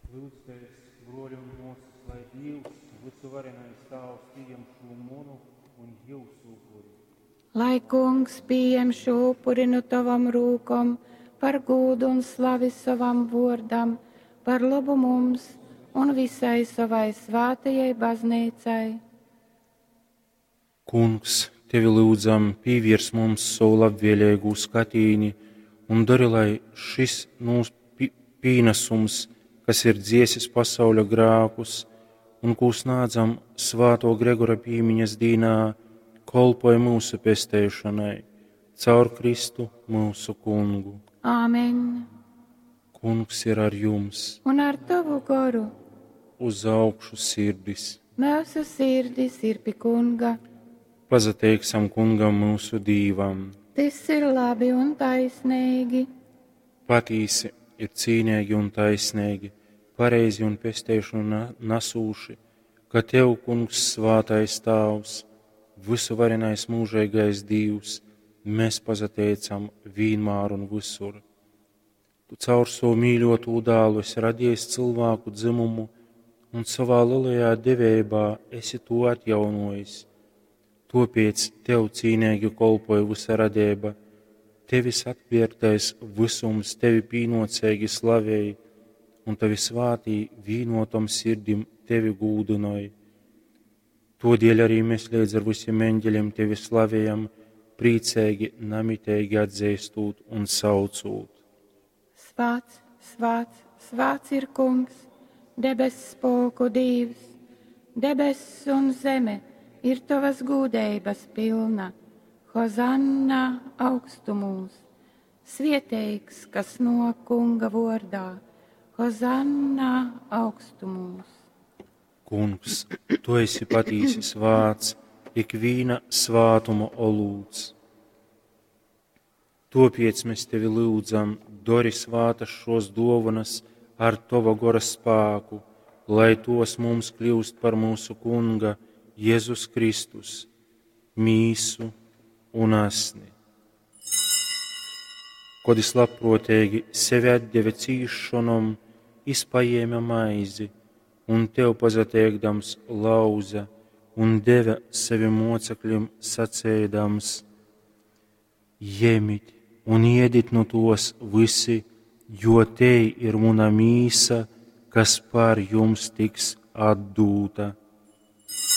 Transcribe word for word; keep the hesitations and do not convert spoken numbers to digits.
Lyudzitēs, bruoļi un muosys, lai Dīvs, vysuvarenais Tāvs, pījem šū munu un jiusu upuri. Lai Kungs pījem šū upuri nu tovom rūkom par gūdu un slavi sovam vuordam, par lobu mums un visai sovai svātajai bazneicai. Kungs, tevi lyudzam, pīviers mums sovu labvēleigū skatīni un dori, lai šis mūsu pīnasums, kas ir dziesis pasauļa grākus un kū snādzam svāto Gregora pīmiņas dīnā, kolpoj myusu pesteišonai caur Kristu myusu Kungu. Āmen. Kungs ir ar jums, Un ar tovu goru uz augšu sirdis. Mūsu sirdis ir pi Kunga. Pazateiksim Kungam myusu Dīvam. Tys ir labi un taisneigi. Patīsi ir cīneigi un taisneigi, pareizi un pesteišonu na- nasūši, ka Tev, Kungs, svātais Tāvs, vysuvarenais mūžīgais Dīvs, mēs pazateicam vienmēr un visur. Tu caur savu mīļotū dēlu esi radījis cilvēku dzimumu un savā lielajā devībā esi to atjaunojis. Tāpēc Tev cīnīgi kolpoja visa radība, Tevis atpirktais visums Tevi pīnocīgi slavēja, un Tavi svātī vīnotom sirdim Tevi gūdinoj. Todēļ arī mēs līdz ar visiem eņģeļiem Tevi slavējam, priecīgi, namitīgi atzīstot un saucot. Svāts, svāts, svāts ir Kungs, debess spolku Dīvs, debess un zeme ir tavas gūdeibas pilna. Hozanna augstumūs, svieteigs, kas no Kunga vordā. Hozanna augstumūs. Kungs, Tu esi patīsi svāts, ikvīna svātuma olūts. Topiec mēs Tevi lūdzam, dori svātas šos dovanas ar Tava gora spēku, lai tos mums kļūst par mūsu Kunga Jēzus Kristus, mīsu un asni. Kod es labprātīgi sevi atdeva cīšanom, es paēma maizi un tev pazateikdams lauza un deva sevi mocekļiem sacēdams: Jemit un iedit no tos visi, jo te ir muna mīsa, kas par jums tiks atdūta.